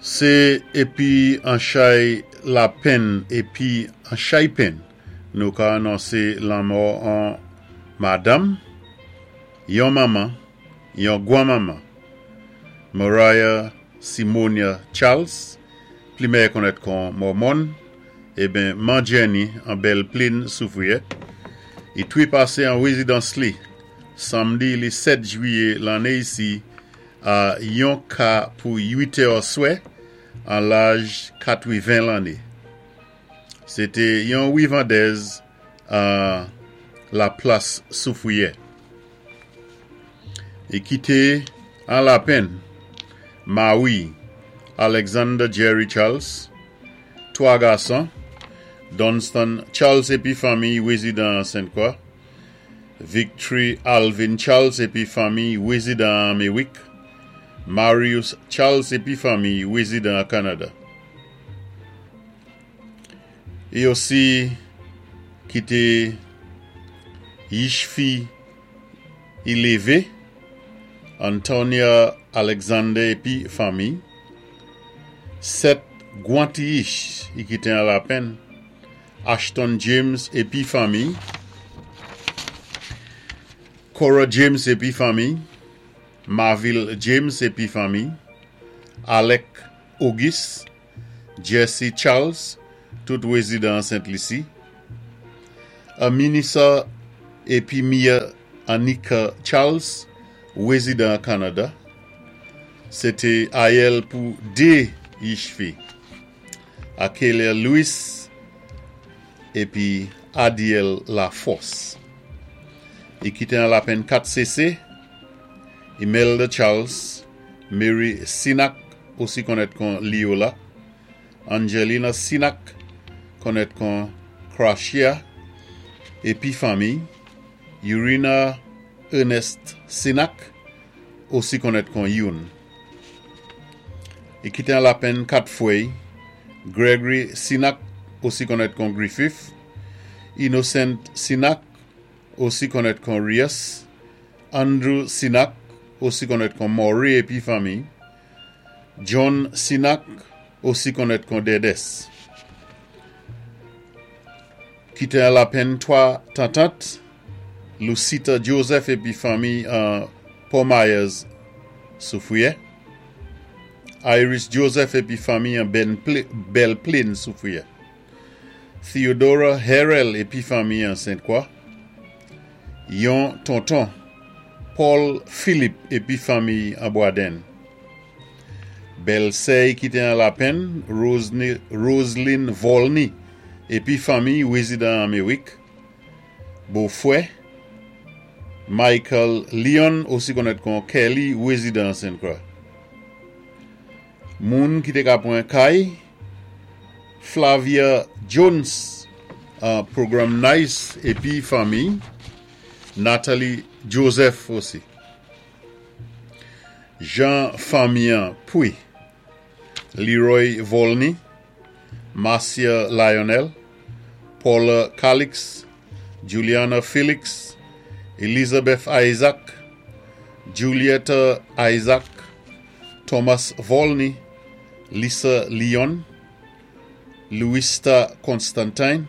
Sé épi an chay lapenn épi an chay penn nou ka anonsé lanmò on madanm, yon manman, yon gwanmanman, Mariah Simonia Charles, pli mèyè konnèt kon Mòmòn, eben Man Jenny an Bèl Plin Soufriyè, i twépasé an wézidans li, sanmdi li 7 jwiyé lanné isi a yon ka pou 8 è swè, an laj 80 lanné. Sé té yon wivandèz an Laplas Soufriyè. I kité an lapenn mawi Alexander Jerry Charles, 3 gason, Dunstan Charles épi fanmiy wézidan an Sent Kwa, Victory Alvin Charles épi fanmiy wézidan an Méwik, Marius Charles épi fanmiy wézidan an Kanada. I osi kité yich fi i lévé, Antonia Alexander épi fanmiy, 7 gwan ti yich i kité an lapenn, Ashton James épi fanmiy, Cora James épi fanmiy, Marville James épi fanmiy, Alec Auguste, Jesse Charles, tout wézidan an Sent Lisi, Aminissa épi Mia Anika Charles, wézidan an Kanada. Sé té ayèl pou 2 yich fi, Akelia Louis épi Adiel Laforce. I kité an lapenn 4 sésé, Imelda Charles, Mary Sinak, osi konnèt kon Liola, Angelina Sinak, konnèt kon Crashia, épi fanmiy, Urina Ernest Sinak, osi konnèt kon Youn. I kité an lapenn 4 fwèy, Gregory Sinak, osi konnèt kon Griffith, Innocent Sinak, osi konnèt kon Rius, Andrew Sinak, osi konnèt kon Maury épi fanmiy, John Sinak, osi konnèt kon Dedes. Kité an lapenn 3 tantant, Lucita Joseph épi fanmiy an Port Myers Soufriyè, Iris Joseph épi fanmiy an Belle Plaine Soufriyè, Theodora Harrell épi fanmiy an Sent Kwa, yon tonton, Paul Philippe épi fanmiy an Bwadenn. Bèlsè i kité an lapenn, Roseline Volney épi fanmiy wézidan an Méwik, Bofwè, Michael Leon osi konnèt kon Kelly wézidan an Sent Kwa. Moun ki té ka pwan kay, Flavia Jones an Program Nice épi fanmiy, Natalie Joseph osi. Jan fanmi an pwi, Leroy Volney, Marcia Lionel, Paula Calix, Juliana Felix, Elizabeth Isaac, Julietta Isaac, Thomas Volney, Lisa Leon, Louista Constantine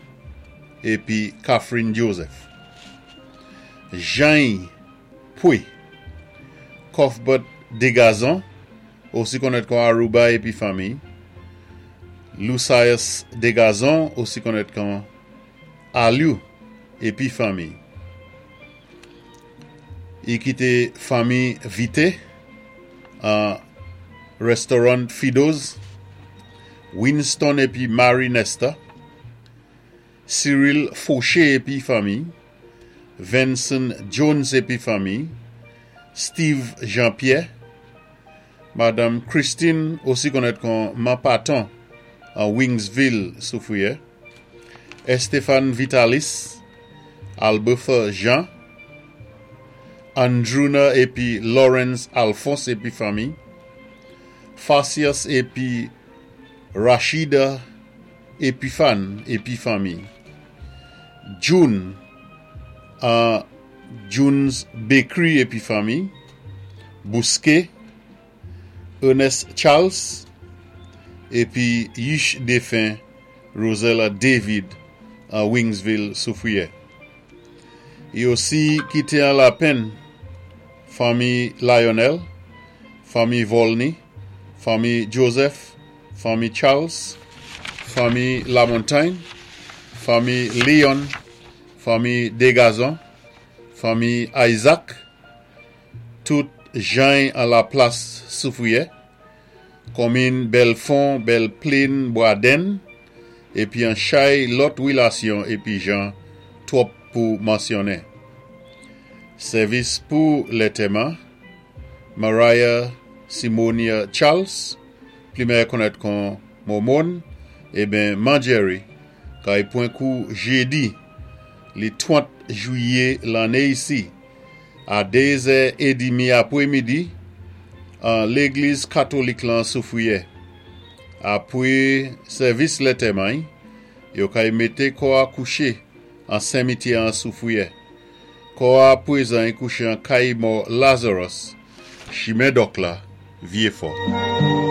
épi Catherine Joseph. Jany pwi, Cuthbert Degazon, osi konnèt kon Aruba épi fanmiy, Lucius Degazon, osi konnèt kon Aliou épi fanmiy. I kité fanmi Vite an Restaurant Fido's, Winston épi Mary Nesta, Cyril Fauché épi fanmiy, Venson Jones épi fanmiy, Steve Jean-Pierre, Madanm Christine, osi konnèt kon Man Paton an Wingsville Soufriyè, Estephane Vitalis, Albertha Jean, Andruna épi Lawrence Alphonse épi fanmiy, Farcius épi Rachida Epiphane épi fanmiy, June an June's Bakery épi fanmiy, Bousquet, Ernest Charles, épi yich défen Rosella David an Wingsville, Soufwiyè. I osi kité an lapenn fanmi Lionel, fanmi Volney, fanmi Joseph, fanmi Charles, fanmi Lamontagne, fanmi Leon, fanmi Degazon, fanmi Isaac, tout jany an Laplas Soufwiyè, konmin Bèlfon, Bèlplin, Bwadenn, épi an chay lòt wilasyon épi jan twòp pou mansyonnen. Sèvis pou lètèman, Mariah Simonia Charles, pli mèyè konnèt kon Momon, eben Man Jerry, kay pwan kou jédi, li 30 jwiyé lanné isi, a 2 zè édimi apwémidi, an légliz katolik lan Soufwiyè. Apwé sèvis lètèman-y, yo kay mété kò-a kouché an senmityè an Soufwiyè. Kò-a pwézan-y kouché an kay mò Lazarus, chimen Dòk la, Vyéfò.